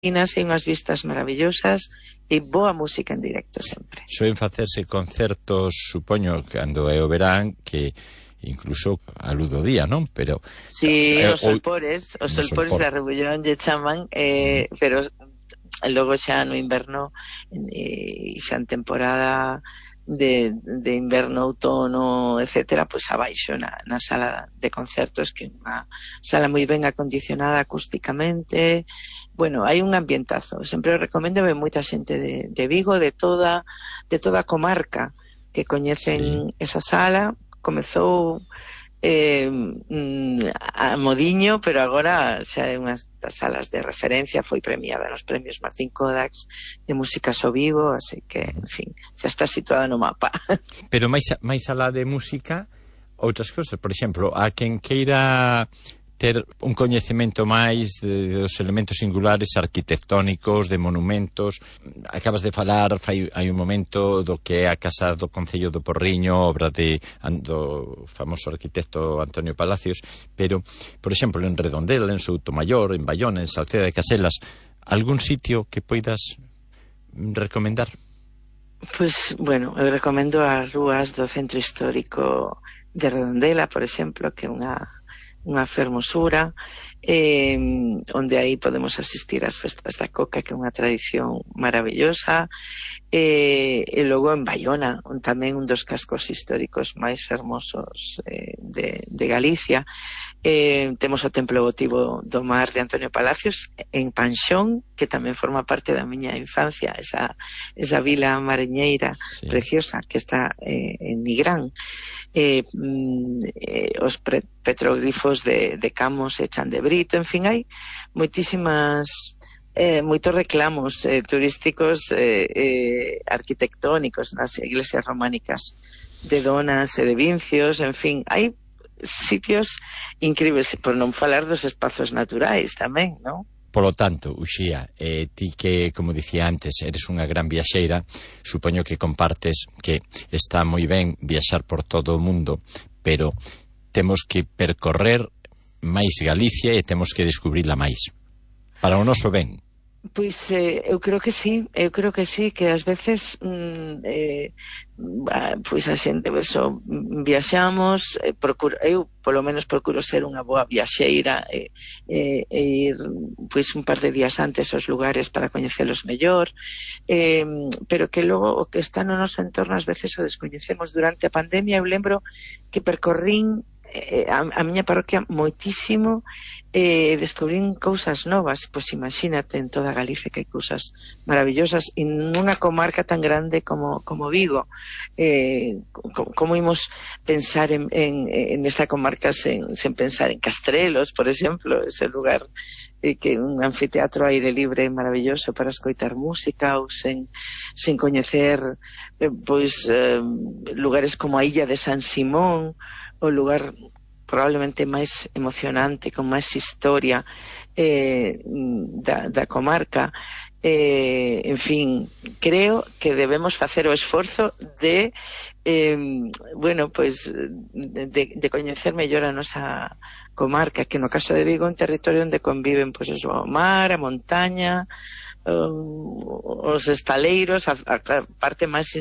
e unhas vistas maravillosas e boa música en directo sempre. Soen facerse concertos, supoño, cando é o verán, que incluso a luz do día, non? Pero si, os solpores da Rebullón lle chaman, pero logo xa no inverno e xa en temporada de inverno, outono, etcétera, pois abaixo na sala de concertos, que é unha sala moi ben acondicionada acústicamente. Bueno, hai un ambientazo. Sempre recomendo a moita xente de Vigo, de toda a comarca, que coñecen esa sala. Comezou a modiño, pero agora xa é unha das salas de referencia, foi premiada nos premios Martín Kodax de músicas ao vivo, así que, en fin, xa está situada no mapa. Pero máis alá de música, outras cousas, por exemplo, a quen queira ter un coñecemento máis dos elementos singulares arquitectónicos, de monumentos. Acabas de falar hai un momento do que é a Casa do Concello do Porriño, obra do famoso arquitecto Antonio Palacios, pero, por exemplo, en Redondela, en Soutomaior, en Baiona, en Salceda de Caselas, algún sitio que poidas recomendar? Pois, bueno, eu recomendo as rúas do centro histórico de Redondela, por exemplo, que é unha fermosura, onde aí podemos asistir ás festas da coca, que é unha tradición maravillosa, e logo en Baiona, tamén un dos cascos históricos máis fermosos de Galicia. Temos o Templo Votivo do Mar de Antonio Palacios en Panxón, que tamén forma parte da miña infancia, esa vila mariñeira preciosa que está en Nigrán. Os petroglifos de Camos e Chan de Brito, en fin, hai moitos reclamos turísticos arquitectónicos nas iglesias románicas de Donas e de Vincios, en fin, hai sitios incríveis, por non falar dos espazos naturais tamén, non? Polo tanto, Uxía, ti que, como dicía antes, eres unha gran viaxeira, supoño que compartes que está moi ben viaxar por todo o mundo, pero temos que percorrer máis Galicia e temos que descubrila máis. Para o noso ben. Pois eu creo que sí, que ás veces pois a xente viaxamos, eu polo menos procuro ser unha boa viaxeira e ir pois un par de días antes aos lugares para coñecelos mellor, pero que logo o que está no noso entorno ás veces o descoñecemos. Durante a pandemia eu lembro que percorrín a miña parroquia moitísimo, descubrín cousas novas. Pois imagínate, en toda Galicia que hai cousas maravillosas, e nunha comarca tan grande como Vigo. Como imos pensar en esa comarca sen pensar en Castrelos, por exemplo, ese lugar que un anfiteatro aire libre maravilloso para escoitar música, ou sen coñecer lugares como a Illa de San Simón, o lugar probablemente máis emocionante, con máis historia da comarca. En fin, creo que debemos facer o esforzo de coñecer mellor a nosa comarca, que no caso de Vigo é un territorio onde conviven o mar, a montaña, os estaleiros, a parte máis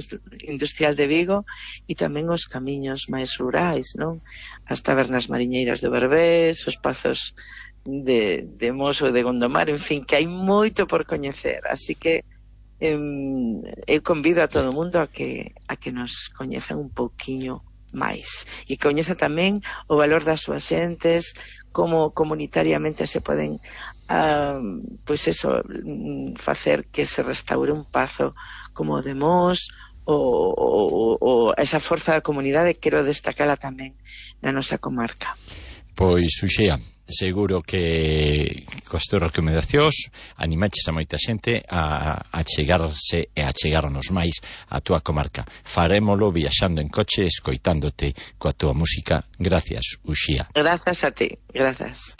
industrial de Vigo, e tamén os camiños máis rurais, non? As tabernas mariñeiras do Berbés, os pazos de Mos ou de Gondomar, en fin, que hai moito por coñecer, así que eu convido a todo o mundo a que nos coñezan un pouquiño máis, e coñeza tamén o valor das súas xentes, como comunitariamente se poden facer que se restaure un pazo como o de Mos, ou esa forza da comunidade, quero destacala tamén na nosa comarca. Pois, Uxía, seguro que coas túas recomendacións animaches a moita xente a chegarse e a chegarnos máis a túa comarca. Farémolo viaxando en coche, escoitándote coa túa música. Gracias, Uxía. Grazas a ti, grazas.